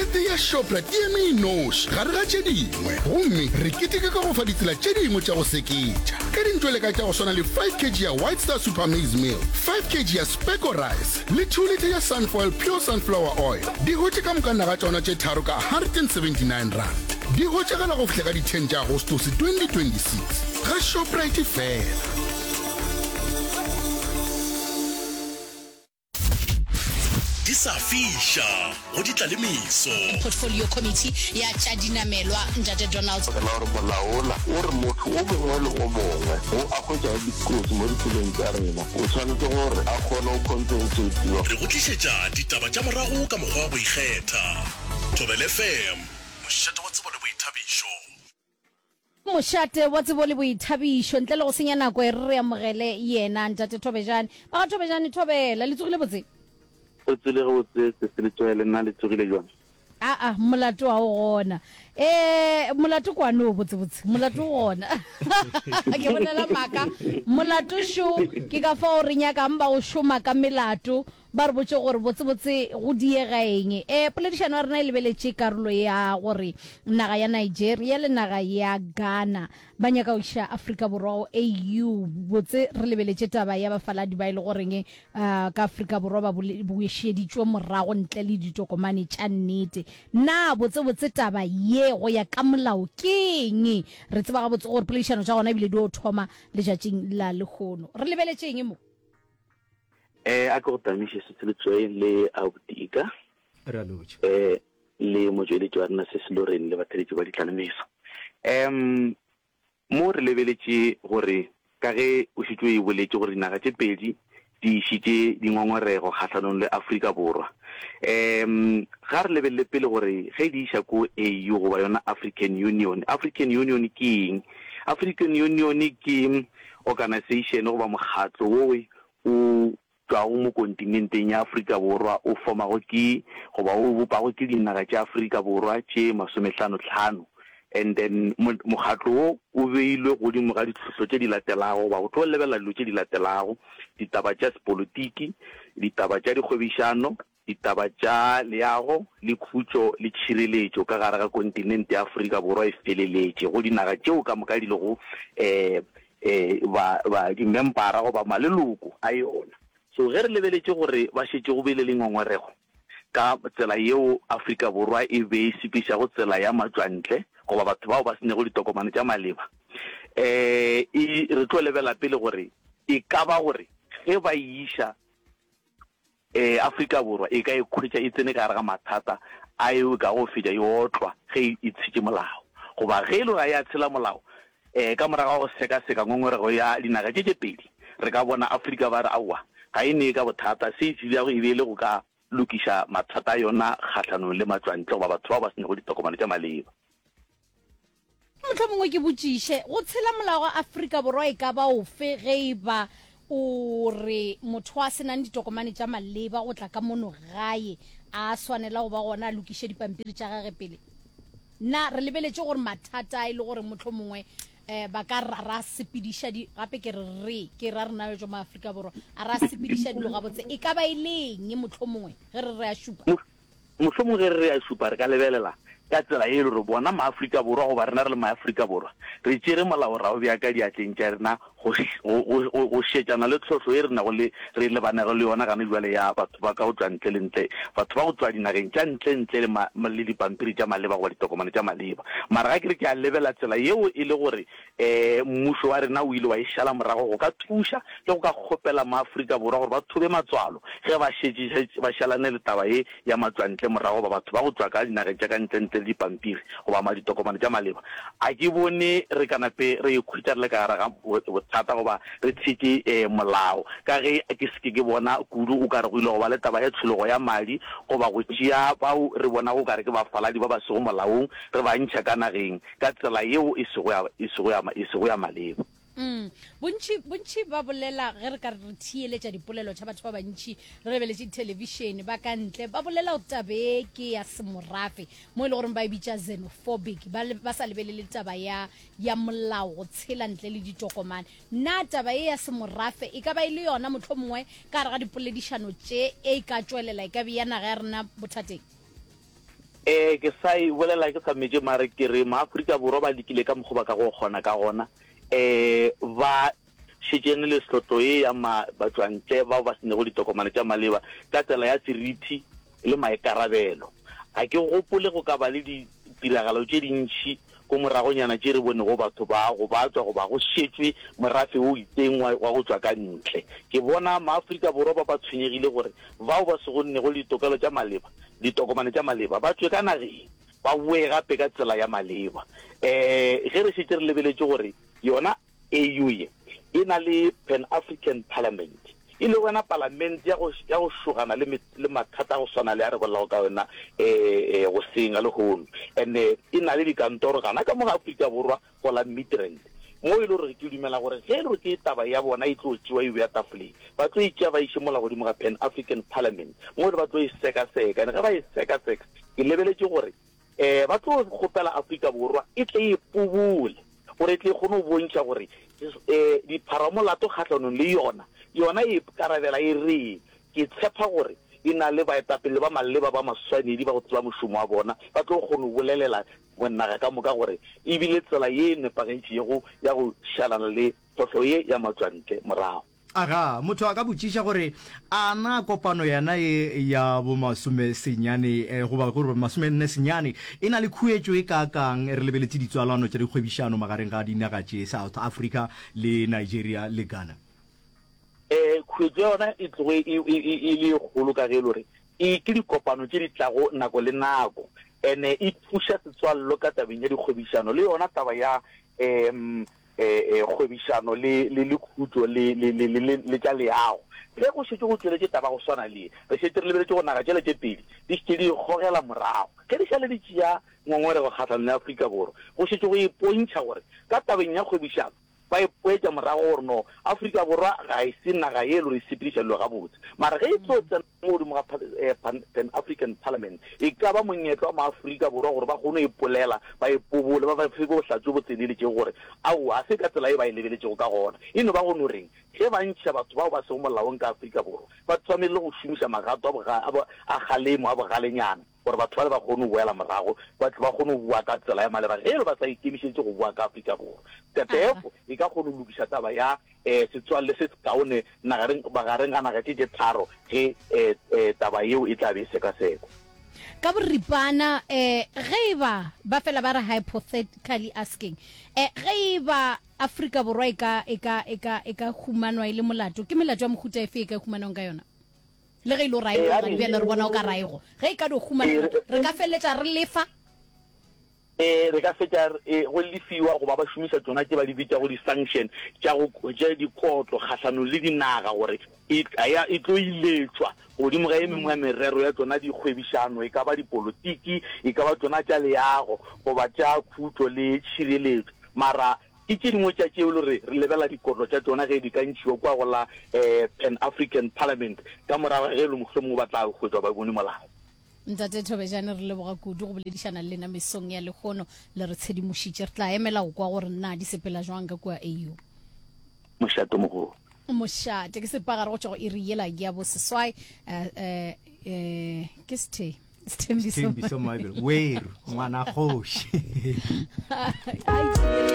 Birthday ya Shoprite e eme e noši gare ga tše dingwe, gomme re keteka ka go fa ditsela tše dingwe tša go seketša. Ka dintšweleka tša go swana le 5 kg ya White Star Super Maize Meal, 5 kg ya Specco Rice le 2 litre ya Sunfoil Pure Sunflower Oil, di hwetše ka moka naga tšona tše tharo ka R179. Di hwetšagala go fihla ka di 10 tša Agostose 2026 ga Shoprite fela. Di sa fiša go di tla le meso. Portfolio Committee ya tša dinamelwa, Ntate Donald. Ka la gore molao wola o re motho o mongwe le o mongwe wo a hwetšago dikotsi mo ditseleng tša rena o tshwanetše gore a kgone go compensatiwa. Re go tlišetša ditaba tša morago ka mokgwa wa go ikgetha. Thobela FM, mošate wa tsebo le boithabišo. Mošate wa tsebo le boithabišo. Ntle le go senya nako e re re amogele yena Ntate Thobejane. Ba ga Thobejane, Thobela, le tsogile botse? Re tsogile gabotse sesi Letsoe, le nna le tsogile jwang? Aa, molato ga o gona. Eh, molato kwano o botsebotse, molato o gona. Ke bolela maaka. Molato šo, ke ka fao re nyakang ba go šoma ka melato Ba re botše gore botsebotse go diega eng. E, poledišano ya rena e lebeletše karolo ya gore naga ya Nigeria le naga ya Ghana ba nyaka go iša Afrika Borwa go AU. Botse re lebeletše taba ya bafaladi ba e le goreng uh, ka Afrika Borwa ba bušeditšwe morago ntle le ditokomane tša nnete. Na botsebotse taba ye go ya ka molao ke eng? Re tseba gabotse gore poledišano tša gona ebile di o thoma letšatšing la lehono. Re lebeletše eng mo? Eh, a ke go tamiše Sesi Letsoe le Abuti Ika. Re a lotšha. Eh, le motšweletši wa rena Sesi Lorraine le batheletši ba ditlalemeso. Um, mo re lebeletše gore ka ge o šetše o e boletše gore dinaga tše pedi di išitše dingongorego kgahlanong le Afrika Borwa. Um, ga re lebelele pele gore ge di iša ko AU goba yona African Union, African Union ke eng? African Union ke Organisation goba mokgatlo wo o tšwago mo kontinenteng ya Afrika Borwa o fomago ke goba o bopago ke dinaga tša Afrika Borwa tše masomehlano-hlano and then mokgatlo wo o beilwe godimo ga ditlhohlo tše di latelago goba go tlo lebelela dilo tše di latelago, ditaba tša sepolitiki, ditaba tša dikgwebišano, Ditaba tša leago le khutšo le tšhireletšo ka gare ga kontinente ya Afrika Borwa e feleletše go dinaga tšeo ka moka di lego ba, ba, dimempara goba maleloko a yona. So ge re lebeletše gore ba šetše go bile le ngongorego ka tsela yeo Afrika Borwa e be e sepedišago tsela ya matšwantle goba batho bao ba se nego ditokomane tša maleba, e, re tlo lebela pele gore e ka ba gore ge ba e iša Ee, Afrika Borwa e ka ikhwetša e tsene ka gare ga mathata a eo e kago fetša e otlwa ge e tshetše molao. Goba ge e le gore ga e a tshela molao, ee, ka morago ga go sekaseka ngongorego ya dinaga tše tše pedi, re ka bona Afrika ba re aowa, ga e nee ka bothata, se e se dirago e be e le go ka lokiša mathata a yona kgahlanong le matšwantle goba batho bao ba se nego ditokomane tša maleba. Mohlomongwe ke botšiše, go tshela molao wa Afrika Borwa e ka ba ofe ge e ba o re motho a se nang ditokomane tša maleba go tla ka mono gae a swanela go ba gona a lokiše dipampiri tša gage pele? Na re lebeletše gore mathata a e le gore mohlomongwe um ba ka ra ra sepediša di gape ke re re ke ra rena bjo ma Afrika Borwa a ra sepediša dilo gabotse e ka ba e le eng mohlomongwe ge re re a šupa? Mohlomongwe ge re re a šupa re ka lebelela ka tsela ye e le gore bona Maafrika Borwa goba rena re le Maafrika Borwa re tšere molao ra o bea ka diatleng tša rena go, go, go, go, go šetšana le tlhohlo ye re nago le, re lebanego le yona gane bjale ya batho ba ka go tšwa ntle le ntle, batho ba go tšwa dinageng tša ntle ntle le ma, le dipampiri tša maleba goba ditokomane tša maleba. Mara ga ke re ke a lebela tsela yeo e le gore um mmušo wa rena o ile wa e šala morago go ka thuša le go ka kgopela maAfrika Borwa gore ba thobe matswalo ge ba šetše ba šalane le taba ye ya matšwantle morago goba batho ba go tšwa ka dinageng tša ka ntle ntle le dipampiri goba ma ditokomane tša maleba. A ke bone re ka nape re ikhwetša re le ka gare ga bothata goba re tshetše molao ka ge ke se ke ke bona kudu o ka re go ile go ba le taba ya tshologo ya madi goba go tšea bao re bonago o ka re ke bafaladi ba ba sego molaong re ba ntšha ka nageng ka tsela yeo e sego ya, e sego ya, e sego ya maleba. Mm. Bontši, bontši ba bolela, ge re ka re theeletša dipolelo tša batho ba bantši, re lebeletše dithelebišene, ba ka ntle, ba bolela gore taba e ke ya semorafe, mo e le goreng ba e bitša xenophobic, ba, ba sa lebelele taba ya, ya molao go tshela ntle le ditokomane. Na taba ye ya semorafe e ka ba e le yona mohlomongwe ka gare ga dipoledišano tše e ka tšwelela e ka bea naga ya rena bothateng? Ee, ke sa e bolela ke sa metše mare ke re maAfrika Borwa ba lekile ka mokgwa ba ka go kgona ka gona. Um ba šetšene le hlotlo ye ya ma batšwantle bao ba senego ditokomane tša maleba ka tsela ya seriti le maikarabelo. Ga ke gopole go ka ba le ditiragalo tše dintši ko moragonyana tše re bonego batho ba gobatšwa goba go šetšwe morafe o itseng wa, wa go tšwa ka ntle. Ke bona maAfrika Borwa ba ba tshwenyegile gore bao ba sego nnego le ditokelo tša maleba, ditokomane tša maleba, ba tšwe ka nageng, ba boe gape ka tsela ya maleba. Um ge re šetše re lebeletše gore yona AU ye e na le Pan African Parliament, e lego yona palamente ya go, ya go šogana le, le mathata a go swana le a re bolelago ka yona um goseng ga lehono. And-e e na le dikantoro gana ka mo ga Afrika Borwa go la Midrand, mo e le gore ke dumela gore ge e le gore ke taba ya bona e tlo tšewa e beya tafoleng, ba tlo e tšea ba iše mola godimo ga Pan African Parliament, mo e le ba tlo e sekaseka. And ge ba e sekaseka, ke lebeletše gore um ba tlo kgopela Afrika Borwa e tle e pobole gore e tle e kgone go bontšha gore um dipharamolato kgahlanong le yona, yona e ikarabela e reng. Ke tshepa gore e na le baetapele ba maleba ba maswanedi ba go tseba mošomo wa bona, ba tlo kgona go bolelela naga ka moka gore e bile tsela ye e nepagetšego ya go šalana le tlhohlo ye ya matšwantle morago. Aga, motho a ka botšiša gore, A na kopano yena ye ya bomasomesenyane, goba gore masomenne senyane, e na le khuetšo e kaakang re lebeletše ditswalano tša dikgwebišano magareng ga dinaga tše, South Africa le Nigeria le Ghana? Ee, khuetšo ya yona e tloge e, e, e, e le e kgolo ka ge e le gore e ke dikopano tše di tlago nako le nako, ene e thuša setswallo ka tabeng ya dikgwebišano le yona taba ya um kgwebišano le, le, le khutšo le, le, le, le, le, le tša leago. Ge go šetše go tšweletše taba go swana le ye, re šetše re lebeletše gore naga tšela tše pedi di šetše di ikgogela morago. Ge di šale di tšea ngongorego kgahlanong le Afrika Borwa, go šetše go ipontšha gore ka tabeng ya kgwebišano ba ipoetša morago gore no, Afrika Borwa ga e se naga ye e le gore e sepediša dilo gabotse. Mara ge e tlo tsena mo godimo ga Pan, Pan African Parliament, e ka ba monyetla wa maAfrika Borwa gore ba kgone go ipolela, ba ipobole, ba ba fe bohlatse bo tseneletšego gore aowa, ga se ka tsela ye ba e lebeletšego ka gona. E no ba go no reng, ge ba ntšha batho bao ba sego molaong ka Afrika Borwa, ba swanelile go šomiša magato a boga, a bo, a kgalemo, a bogalenyana, gore batho bale ba kgone go boela morago, ba tle ba kgone go boa ka tsela ya maleba ge e le ba sa ikemišeditše go boa ka Afrika Borwa. Tetefo e ka kgona go lokiša taba ya um setswalle se sekaone nagareng, magareng ga naga tše tše tharo ge um um taba yeo e tla be e sekasekwa. Ka boripana, um ge e ba, ba fela ba re hypothetically asking, um ge e ba Afrika Borwa e ka, e ka, e ka, e ka humanwa e le molato, ke melato ya mohuta efe e ka humanwang ka yona? Le ge e le gore ga e gona bjale re bona o ka raego, ge e ka no humana molato, re ka feleletša re lefa? Ee, re ka fetša go lefiwa goba ba šomiša tšona tše ba di bitšago di-sanction tša go tša dikotlo kgahlanong le dinaga gore e, e tlo iletšwa godimo ga e mengwe ya merero ya tšona dikgwebišano, e ka ba dipolotiki, e ka ba tšona tša leago goba tša khutšo le tšhireletšo. Mara ke tše dingwe tša tšeo e le gore re lebelela dikotlo tša tšona ge di ka ntšhiwa kua go la Pan African Parliament ka morago ga ge e le mohlomongwe ba tla hwetšwa ba bone molato. Ntate Thobejane re leboga kudu go boledišana le lena mesong ya lehono le re tshedimošitše. Re tla emela go kwa gore na di sepela jwang ka kua AU. Mošate mogolo. Mošate ke sepagare go tšwa go iri yela ya boseswai eh, eh, eh, ke sethe Sethembiso Mabelo weru ngwana kgoši.